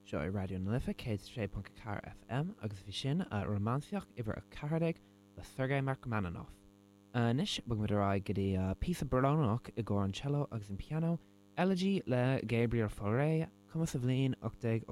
Seo é Raidió na Life 106.4 FM agus bhí sin Rómánsaíocht uimhir 14 le Sergei Rachmaninoff. Anois bogfaimid ar aghaidh go dtí píosa brónach i gcomhair an cello agus an pianó, Elegy le Gabriel Fauré, cumtha sa bhliain 1880.